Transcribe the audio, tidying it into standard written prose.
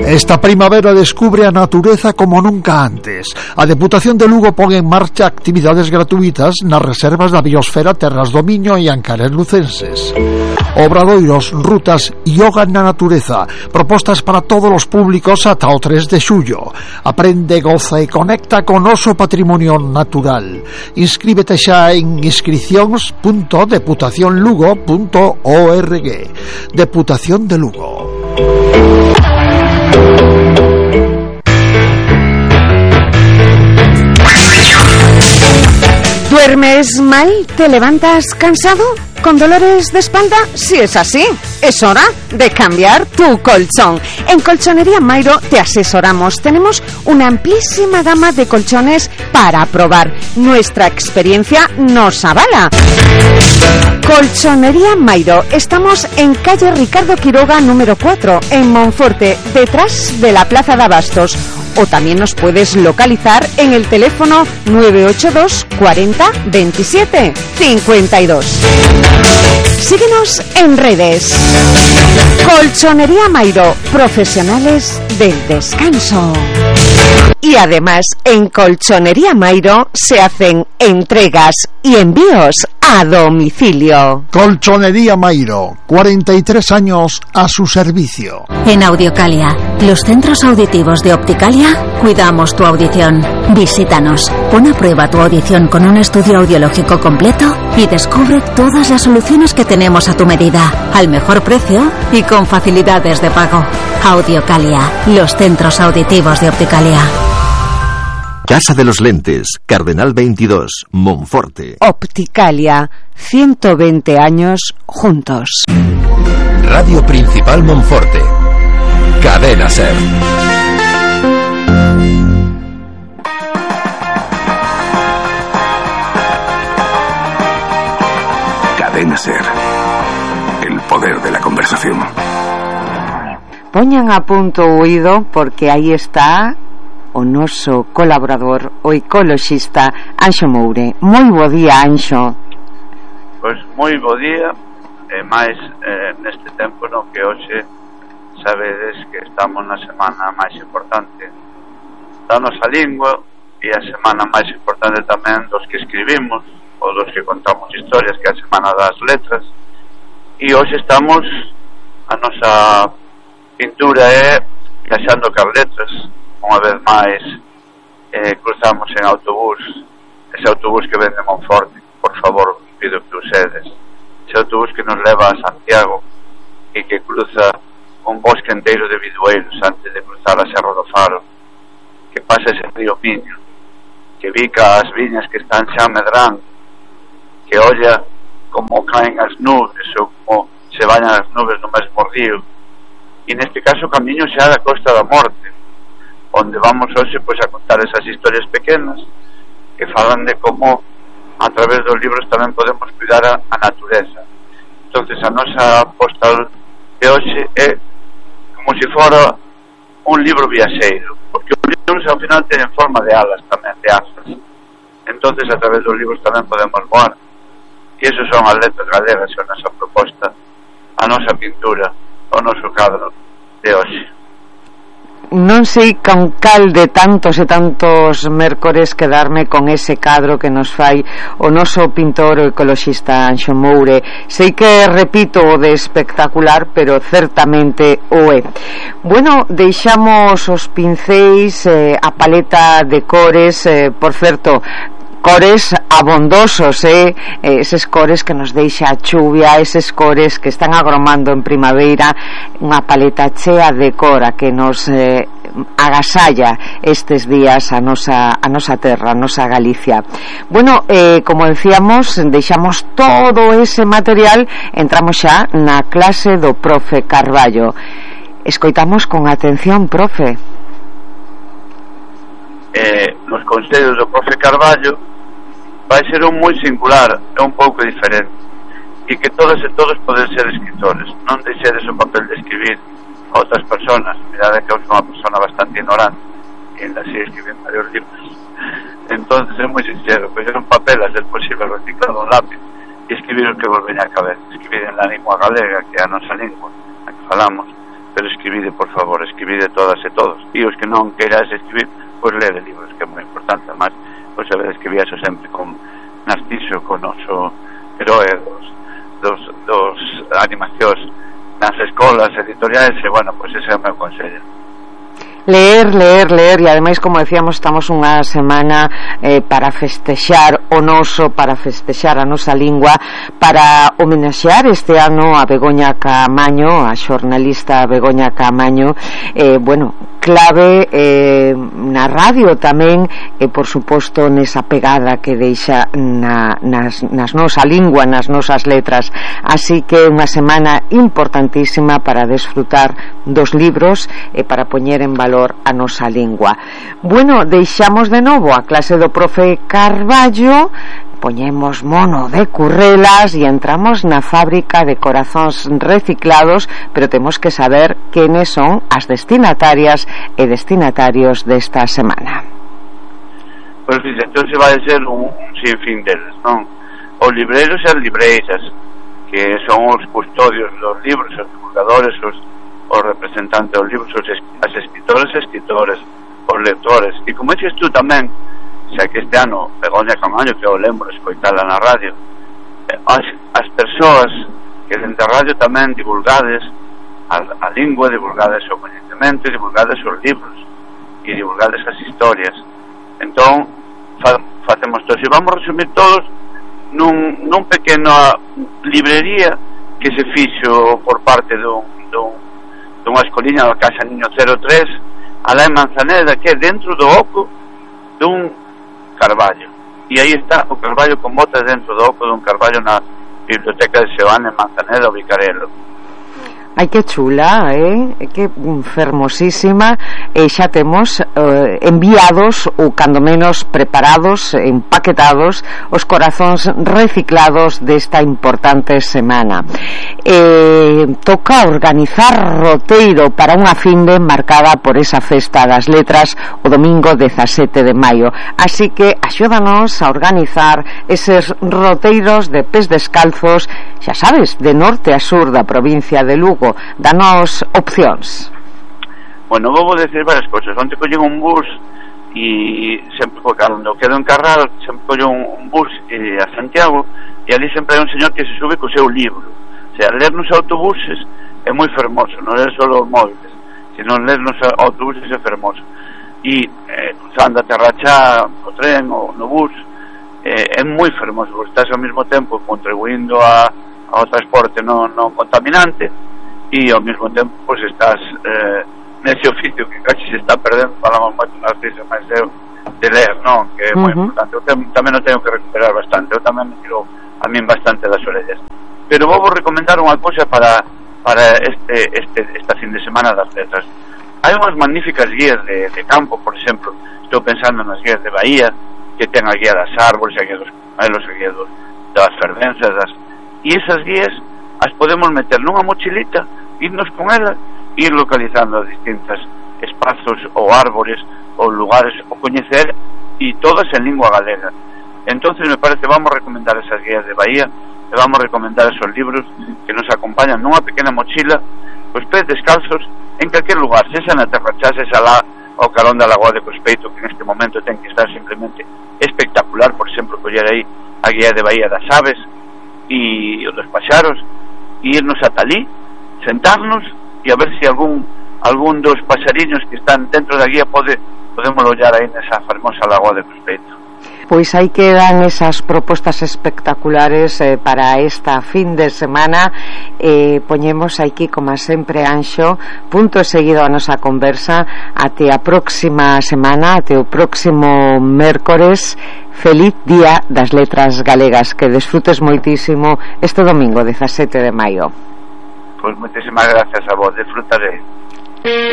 Esta primavera descubre a natureza como nunca antes. A Deputación de Lugo pon en marcha actividades gratuitas nas reservas da biosfera Terras do Miño e Ancares lucenses. Obradoiros, rutas, yoga na natureza, propostas para todos os públicos ata o 3 de xullo. Aprende, goza e conecta con noso patrimonio natural. Inscríbete xa en inscripcións.deputacionlugo.org. Deputación de Lugo. ¿Duermes mal? ¿Te levantas cansado? ¿Con dolores de espalda? Si es así, es hora de cambiar tu colchón. En Colchonería Mairo te asesoramos. Tenemos una amplísima gama de colchones para probar. Nuestra experiencia nos avala. Colchonería Mairo. Estamos en calle Ricardo Quiroga número 4, en Monforte, detrás de la Plaza de Abastos. O también nos puedes localizar en el teléfono 982 40 27 52. Síguenos en redes. Colchonería Mairo, profesionales del descanso. Y además, en Colchonería Mairo se hacen entregas y envíos a domicilio. Colchonería Mairo, 43 años a su servicio. En Audiocalia, los centros auditivos de Opticalia, cuidamos tu audición. Visítanos, pon a prueba tu audición con un estudio audiológico completo y descubre todas las soluciones que tenemos a tu medida, al mejor precio y con facilidades de pago. Audiocalia, los centros auditivos de Opticalia. Casa de los Lentes, Cardenal 22, Monforte. Opticalia, 120 años juntos. Radio Principal Monforte. Cadena SER. Cadena SER. El poder de la conversación. Poñan a punto o oído porque aí está o noso colaborador, o ecoloxista Anxo Moure. Moi bo día, Anxo. Pois moi bo día, e máis neste tempo no que hoxe sabedes que estamos na semana máis importante da nosa lingua e a semana máis importante tamén dos que escribimos ou dos que contamos historias, que é a semana das letras, e hoxe estamos, a nosa pintura é viaxando cas letras. Unha vez máis cruzamos en autobús, ese autobús que vende Monforte, por favor, pido que usedes, ese autobús que nos leva a Santiago e que cruza un bosque enteiro de bidueiros antes de cruzar a Serra do Faro, que pasa ese río Miño, que bica as viñas que están xa medrando, que olla como caen as nubes ou como se bañan as nubes no mesmo río, e neste caso camiño xa da Costa da Morte, onde vamos hoxe pois a contar esas historias pequenas que falan de como a través dos libros tamén podemos cuidar a natureza. Entonces a nosa postal de hoxe é como se fora un libro viaxeiro, porque os libros ao final teñen forma de alas tamén, de asas. Entonces a través dos libros tamén podemos voar, e esos son as letras galegas, a nosa proposta, a nosa pintura, o noso cadro de hoxe. Non sei con cal de tantos e tantos mércores quedarme con ese cadro que nos fai o noso pintor o ecoloxista Anxo Moure. Sei que repito o de espectacular, pero certamente o é. Bueno, deixamos os pincéis, a paleta de cores, por certo, cores abondosos, eses cores que nos deixa a chuvia, eses cores que están agromando en primavera, unha paleta chea de cor a que nos agasalla estes días a nosa terra, a nosa Galicia. Bueno, como decíamos, deixamos todo ese material, entramos xa na clase do profe Carballo. Escoitamos con atención, profe. Nos consellos do profe Carballo vai ser un moi singular, é un pouco diferente, e que todas e todos poden ser escritores. Non deixedes o papel de escribir a outras personas. Mirade que eu sou unha persona bastante ignorante e ainda sei escribir varios libros. Entonces é moi sincero, coller un papel a ser posible, reciclar un lápiz e escribir o que vos veña a cabeza, escribir en la lingua galega, que é a nosa lingua, a que falamos, pero escribide, por favor, escribide todas e todos, e os que non queiras escribir, pois lede libros, que é moi importante. Además, pois sabedes que viaxo sempre con Narciso, con noso heroe dos animacións nas escolas editoriais, e bueno, pois ese é o meu consello. Leer, e ademais, como decíamos, estamos unha semana para festexar o noso, para festexar a nosa lingua, para homenaxear este ano a Begoña Caamaño, a xornalista Begoña Caamaño, bueno, clave na radio tamén, e por suposto nesa pegada que deixa nas nosa lingua, nas nosas letras. Así que unha semana importantísima para desfrutar dos libros e para poñer en valor a nosa lingua. Bueno, deixamos de novo a clase do profe Carballo, poñemos mono de currelas e entramos na fábrica de corazóns reciclados, pero temos que saber quenes son as destinatarias e destinatarios desta semana. Pois entón se vai ser un sinfín deles, non? Os libreiros e as libreiras, que son os custodios dos libros, os divulgadores, os representantes dos libros, as escritoras e escritores, os lectores, e como dices tú tamén, xa que este ano Begoña Caamaño, que eu lembro escoitala na radio, as persoas que dentro da radio tamén divulgades a lingua, divulgades o coñecemento, divulgades os libros e divulgades as historias. Entón facemos todos, e vamos resumir todos nun pequena librería que se fixo por parte dunha escoliña da Casa Niño 03 alá en Manzaneda, que é dentro do oco dun carballo, e aí está o carballo con botas dentro do oco dun carballo na Biblioteca de Seoane en Manzaneda, o Vicarelo. Ai, que chula, que fermosísima. E xa temos enviados, ou cando menos preparados, empaquetados, os corazóns reciclados desta importante semana. Toca organizar roteiro para unha finde marcada por esa festa das letras o domingo 17 de maio. Así que axúdanos a organizar eses roteiros de pés descalzos, xa sabes, de norte a sur da provincia de Lugo. Danos opcións. Bueno, vou decir varias cousas. Onte collín un bus e sempre, cando quedo en Carral, sempre collo un bus a Santiago, e ali sempre hai un señor que se sube co seu libro. O sea, ler nos autobuses é moi fermoso, non ler só os móviles, sino ler nos autobuses é fermoso. E cruzando a Terrachá no tren ou no bus é moi fermoso, porque estás ao mesmo tempo contribuindo ao transporte non contaminante, e ao mesmo tempo pois estás nese oficio que casi se está perdendo. Falamos moito nas veces máis de ler, non? Que é moi importante. Eu tamén o teño que recuperar bastante, eu tamén me tiro a min bastante das orellas, pero vou recomendar unha cousa para esta fin de semana das letras. Hai unhas magníficas guías de campo, por exemplo, estou pensando nas guías de Bahía, que ten a guía das árboles, a guía dos comelos, a guía das fervenzas, e esas guías as podemos meter nunha mochilita, irnos con ela e ir localizando distintos espazos ou árbores ou lugares ou coñecer, e todas en lingua galega. Entonces me parece, vamos recomendar esas guías de Bahía e vamos recomendar esos libros que nos acompañan nunha pequena mochila, os pés descalzos en calquer lugar, sexa na Terrachá, sexa lá ao carón da Lagoa de Cospeito, que neste momento ten que estar simplemente espectacular. Por exemplo, coller aí a guía de Bahía das aves e o dos paxaros, e irnos ata ali, sentarnos e a ver se algún dos paxariños que están dentro da guía podemos ollar aí nesa fermosa Lagoa de Cospeito. Pois aí quedan esas propostas espectaculares para esta fin de semana. Poñemos aquí, como sempre, Anxo, punto seguido a nosa conversa. Até a próxima semana, até o próximo mércores. Feliz Día das Letras Galegas, que desfrutes moitísimo este domingo 17 de maio. Pois moitísimas gracias a vos, disfrutaré.